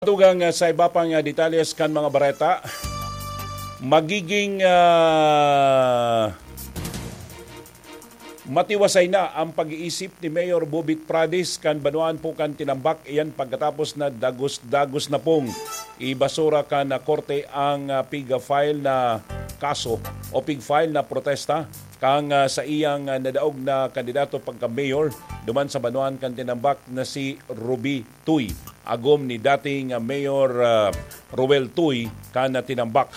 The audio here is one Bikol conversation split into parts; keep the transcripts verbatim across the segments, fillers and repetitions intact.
Tugang, ah, sa iba pang, ah, detalles kan mga bareta, magiging, ah, matiwasay na ang pag-iisip ni Mayor Bobit Pradis kan banwaan po kan Tinambak, iyan pagkatapos na dagos-dagos na pong ibasura kan, ah, korte ang, ah, pig-file na kaso o pig-file na protesta kan, ah, sa iyang, ah, nadaog na kandidato pagka-mayor duman sa banwaan kan Tinambak na si Ruby Tuy, agom ni dating, ah, Mayor, ah, Roel Tuy kan, ah, Tinambak.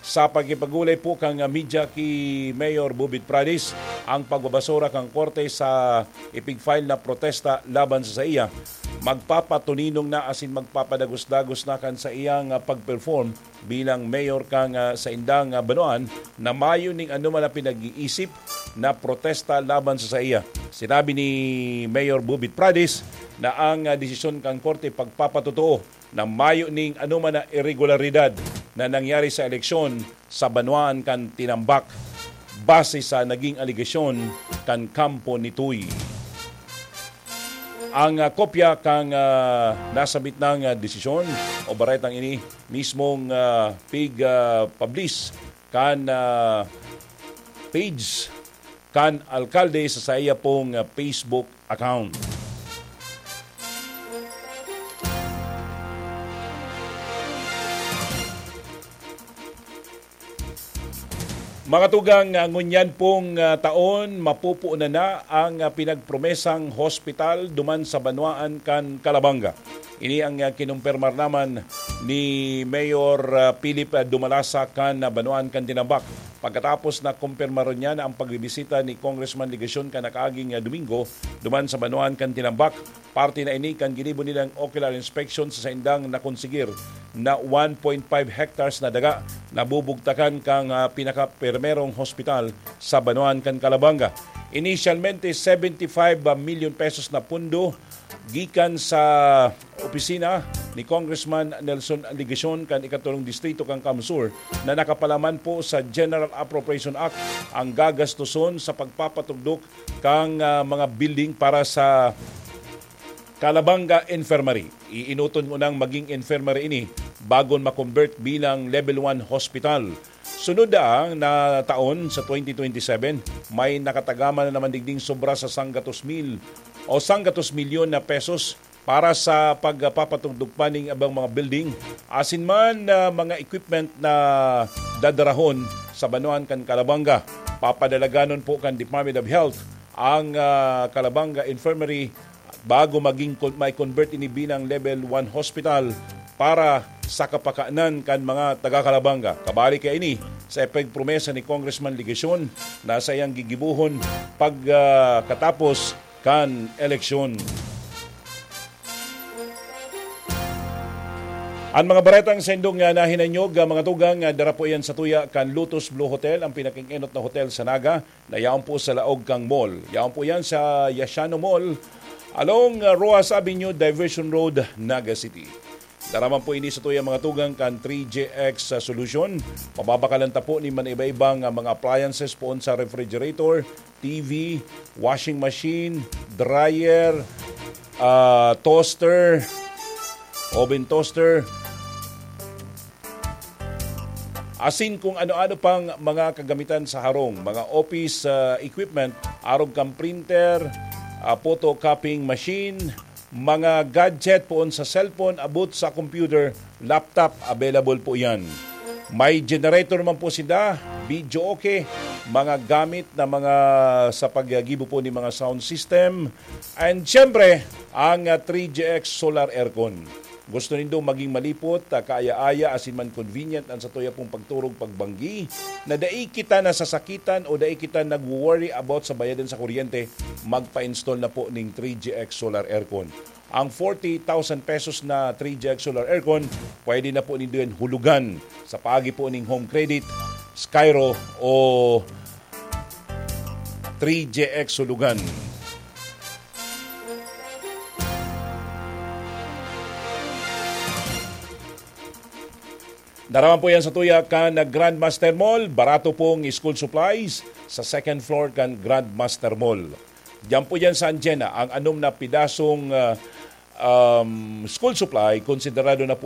Sa pagkipagulay po kan, ah, media ki Mayor Bobit Pradis, ang pagbabasura kan korte sa ipig-file na protesta laban sa saiya, magpapatuninong na asin magpapadagos-dagos na kan saiyang, ah, pag-perform bilang mayor kan, ah, saindang, ah, banwaan na mayo ning anoman na pinag-iisip na protesta laban sa saiya. Sinabi ni Mayor Bobit Pradis na ang, ah, desisyon kan korte pagpapatotoo na mayo ning anoman na iregularidad na nangyari sa eleksyon sa banwaan kan Tinambak, base sa naging alegasyon kan kampo ni Tuy. Ang, ah, kopya kan, ah, nasabit nang, ah, desisyon o baretang ini mismong, ah, pig, ah, publish kan, ah, page kan alkalde sa saiya pong, ah, Facebook account. Mga tugang, ah, ngunyan pong, ah, taon, mapupunan na ang, ah, pinagpromesang hospital duman sa banwaan kan Calabanga. Ini ang, ah, kinumpirmar naman ni Mayor, ah, Philip, ah, Dumalasa kan, ah, banwaan kan Tinambak. Pagkatapos na kumpirmaron niya na ang pagbibisita ni Congressman Legacion kan nakaaging, ah, Domingo duman sa banwaan kan Tinambak, parte na ini kan ginibo nilang ocular inspection sa saindang nakonsigir na one point five hectares na daga na bubugtakan kan, ah, pinakaprimerong hospital sa banwaan kan Calabanga. Inisyalmente, seventy-five million pesos na pundo gikan sa opisina ni Congressman Nelson Legacion kan ikatulong distrito kan CamSur na nakapalaman po sa General Appropriation Act ang gagastuson sa pagpapatugdok kan, ah, mga building para sa Calabanga Infirmary. Iinoton ko nang maging infirmary ini bago ma-convert bilang level one hospital. Sunod daang na taon, sa twenty twenty-seven, may nakatagama na naman digding sobra sa sanggatos mil o sanggatos milyon na pesos para sa pagpapatugdok pa ning ibang mga building, asin man na mga equipment na dadarahon sa banwaan kan Calabanga. Papadalaganon po kan Department of Health ang, ah, Calabanga Infirmary bago maging con-, may convert ini bilang level one hospital para sa kapakanan kan mga taga Calabanga. Kabali kaini sa epeg promesa ni Congressman Legacion na saiyang gigibohon pag, ah, katapos kan eleksyon. An mga baretang saindong, ah, nahinanyog, ah, mga tugang, ah, dara po iyan sa tuya kan Lotus Blue Hotel, ang pinakaenot na hotel sa Naga, na yaon po sa laog kan mall. Yaon po iyan sa Yashano Mall, along, ah, Roxas Avenue, Diversion Road, Naga City. Dara man po ini sa tuya, mga tugang, kan three G X, ah, Solution. Mababakalan ta po nin man iba-ibang, ah, mga appliances poon sa refrigerator, T V, washing machine, dryer, ah, toaster, oven toaster, asin kung ano-ano pang mga kagamitan sa harong, mga office, ah, equipment, arog kan printer, ah, photocopying machine, mga gadget poon sa cellphone, abot sa computer, laptop, available po iyan. May generator naman po sila, video okay, mga gamit na mga sa paggibo po ni mga sound system, and siyempre, ang, ah, three G X solar aircon. Gusto nindo maging malipot, ah, kaaya-aya, asin man convenient an satuya pong pagturog pagbanggi, na dai kita nasasakitan o dai kita nagwo-worry about sa bayadan sa kuryente, magpa-install na po ning three G X solar aircon. Ang forty thousand pesos na three G X solar aircon, pwede na po nindo yan hulugan sa paagi po ning Home Credit, Skyro o three G X Hulugan. Dara man po yan sa tuya kan Grandmaster Mall. Barato pong school supplies sa second floor kan Grandmaster Mall. Diyan po yan sa Anjena, ang anom na pidasong, ah, um, school supply, konsiderado na po